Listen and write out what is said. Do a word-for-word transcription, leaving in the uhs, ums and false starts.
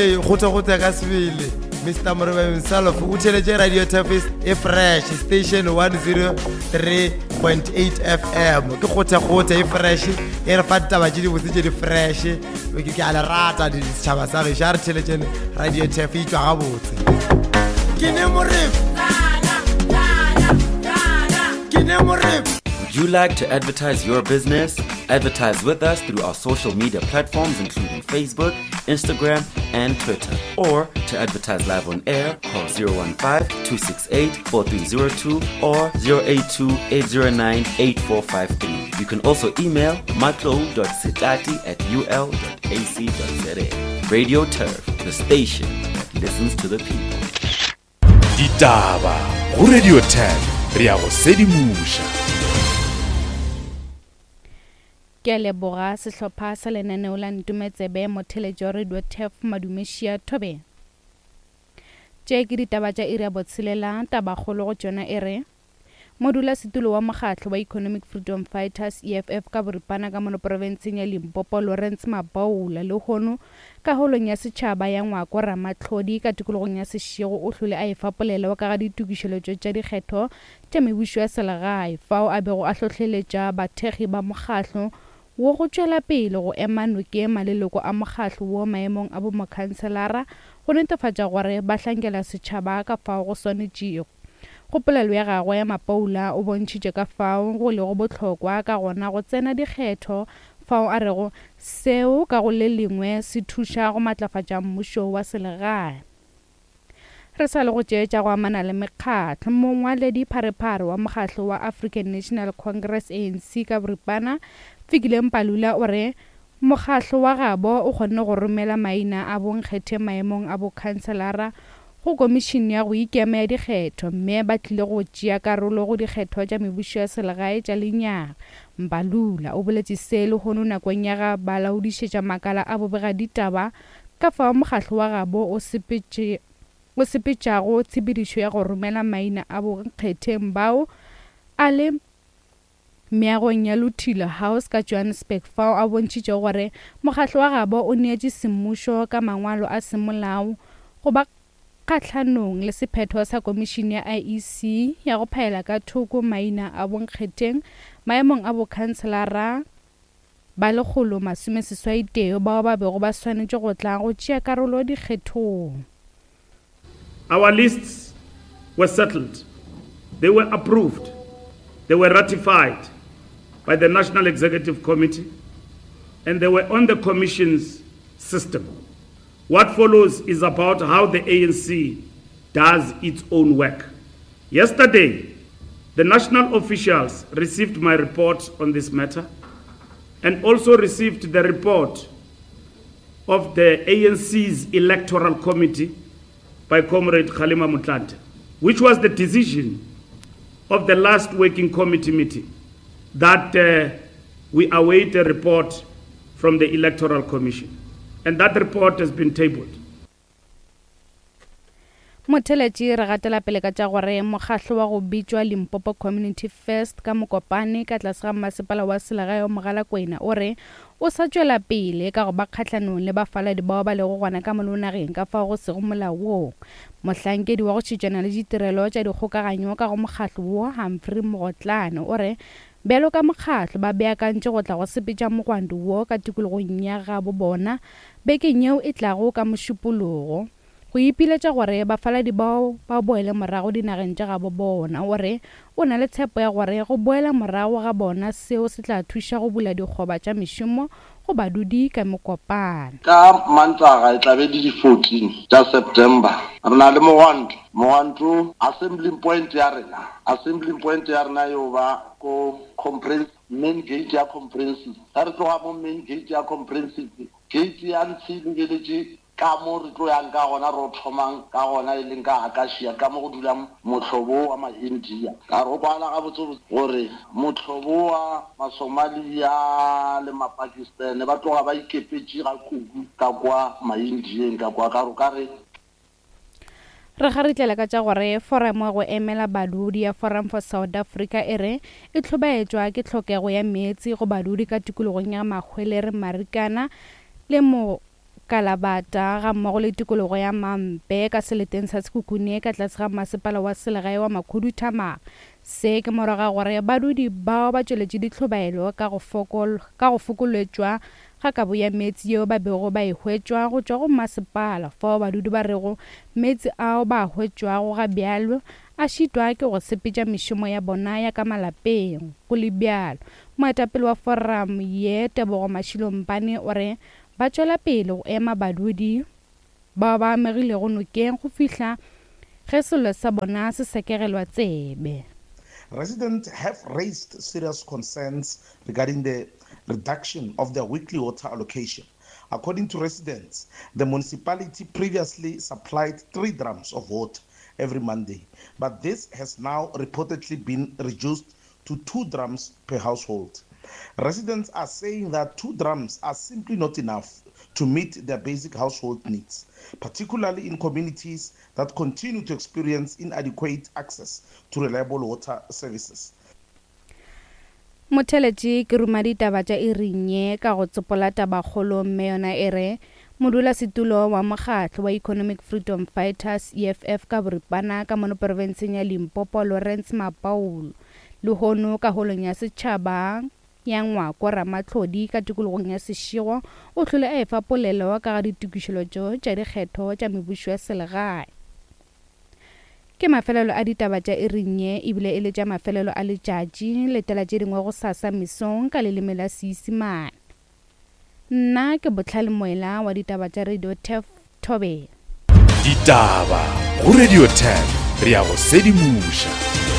Kgotha-kgotha ka sebele Mister Morobe himself o theletše Radio Turf e fresh station one zero three point eight F M. Ke kgotha-kgotha e fresh e re fa ditaba tše dibotse tše di fresh. Ke ke a le rata ditšhaba sa gešo, a re theletšeng Radio Turf e tšwa gabotse. Ke ne Morebe. Ke ne Morebe. Would you like to advertise your business? Advertise with us through our social media platforms including Facebook, Instagram, and Twitter. Or to advertise live on air, call zero one five, two six eight, four three zero two or zero eight two, eight zero nine, eight four five three. You can also email matlo dot setati at u l dot a c dot z a. Radio Turf, the station that listens to the people. Ditaba go Radio Turf, re ya go sedimoša. Ke a leboga sehlopha sa lenaneo la Ntumetsebe motheletšo wa Radio Turf Madumešia Thobela. Tše ke ditaba tša iri ya botshelela, tabakgolo go tšona e re modulasetulo wa mokgatlo wa Economic Freedom Fighters E F F ka boripana ka mono profenseng ya Limpopo Lawrence Mabaula lehono ka holong ya setšhaba ya Ngwako Ramatlhodi ka tikologong ya Seshego o hlole a efa polelo ka ga ditokišeletšo tša dikgetho tša mebušo ya selegae fao a bego a hlohleletša bathekgi ba mokgatlo wo go tšwela pele go ema nokeng maleloko a mokgatlo wo maemong a bomokhanselara go netefatša gore ba hlankela setšhaba ka fao go swanetšego. Go polelo ya gagwe Mapaula o bontšhitše ka fao go lego bohlokwa ka gona go tsena dikgetho fao a rego seo ka go le lengwe se thuša go matlafatša mmušo wa selegae. Re sa le go tšeetša go amana le mekgatlo, mongwaledi pharephare wa mokgatlo wa African National Congress A N C ka boripana Fikile Mbalula o re mokgatlo wa gabo o kgonne go romela maina a bonkgethe maemong a bokhanselara go komišene ya go ikema ya dikgetho mme ba tlile go tšea karolo go dikgetho tša mebušo ya selegae tša lenyaga. Mbalula o boletše se lehono nakong ya ga ba laodišetša makala a bobegaditaba ka fao mokgatlo wa gabo o sepetše o sepetšago tshepedišo ya go romela maina a bonkgetheng bao a le meagong ya Luthuli House ka Johannesburg fao a bontšhitšego gore mokgatlo wa gabo o neetše semmušo ka mangwalo a semolao go ba kgahlanong le sephetho sa komišene ya I E C ya go phaela ka thoko maina a bonkgetheng maemong a bokhanselara ba lekgolo masome seswai tee bao ba bego ba swanetše go tla go tšea karolo dikgethong. Our lists were settled. They were approved. They were ratified by the National Executive Committee, and they were on the Commission's system. What follows is about how the A N C does its own work. Yesterday, the national officials received my report on this matter and also received the report of the A N C's Electoral Committee by Comrade Kgalema Motlanthe, which was the decision of the last working committee meeting that, uh, we await a report from the Electoral Commission. And that report has been tabled. Motheletši re gatela pele ka tša gore mokgatlo wa go bitšwa Limpopo Community First ka Mokopane ka tlase ga masepala wa selegae wa Mogalakwena o re o sa tšwela pele ka go ba kgahlanong le bafaladi bao ba lego gona ka mono nageng ka fao go sego molaong. Mohlankedi wa go šetšana le ditirelo tša dikgokaganyo ka go mokgatlo wo Humphrey Mogotlane o re bjalo ka mokgatlo ba beakantše go tla go sepetša mogwanto wo ka tikologong ya gabo bona bekeng yeo e tlago ka Mošupologo go ipiletša gore bafaladi bao ba boele morago dinageng tša gabo bona. O re o na le tshepo ya gore go boela morago ga bona seo se tla thuša go bula dikgoba tša mešomo go badudi ka Mokopane. Ka Mantaga e tla be di di-fourteen tša September re na le mogwanto. Mogwanto assembly point ya rena, assembly point ya rena yo ba ko comprehensive main gate ya comprehensive. Ga re tloga mo main gate ya comprehensive, gate ya ntshe lebeletše ka mo re tlo yang ka gona ro thomang ka gona e leng ka Akasia ka mo go dulang mohlobo wa ma-India. Ka re o kwala gabotse gore mohlobo wa ma-Somalia le ma-Pakistan ba tloga ba ikepetše ga kudu ka kwa ma-Indieng ka kwa ka re ka re Re garitlela ka tša gore foramo ya go emela badudi ya Forum for South Africa e re e hlobaetšwa ke tlhokego ya meetse go badudi ka tikologong ya Mahwelereng Marikana le mo Kalabata ga mmogo le tikologo ya Mampe ka seleteng sa Sekhukhune ka tlase ga masepala wa selegae wa Makhuduthamaga. Se ke morago ga gore badudi bao ba tšweletše ditlhobaelo ka go fokol ka go fokoletšwa ga kabo ya meetse yeo ba bego ba e hwetšwa go tšwa go masepala, fao badudi ba rego meetse ao ba a hwetšwago ga bjalo a šitwa ke go sepetša mešomo ya bona ya ka malapeng. Go le bjalo, moetapele wa forum ye Tebogo Mashilompane o re ba tšwela pele go ema badudi bao ba amegilego nokeng go fihla ge sello sa bona se sekegelwa tsebe. Residents have raised serious concerns regarding the reduction of their weekly water allocation. According to residents, the municipality previously supplied three drums of water every Monday, but this has now reportedly been reduced to two drums per household. Residents are saying that two drums are simply not enough to meet their basic household needs, particularly in communities that continue to experience inadequate access to reliable water services. Motheletši ke ruma ditaba tša iring ye ka go tsopola tabakgolo mme yona e re modulasetulo wa mokgatlo wa Economic Freedom Fighters E F F ka boripana ka mono profenseng ya Limpopo Lawrence Mapaulo lehono ka holong ya setšhaba ya Ngwako Ramatlhodi ka tikologong ya Seshego o hlole a efa polelo ka ga ditokišeletšo tša dikgetho tša mebušo ya selegae. Ke mafelelo a ditaba tša iring ye ebile e le tša mafelelo a letšatši, letela tše dingwe go sasa mesong ka leleme la Seisemane. Nna ke Botlhale Moela wa ditaba tša Radio Turf Thobela. Ditaba go Radio Turf, re ya go sedimoša.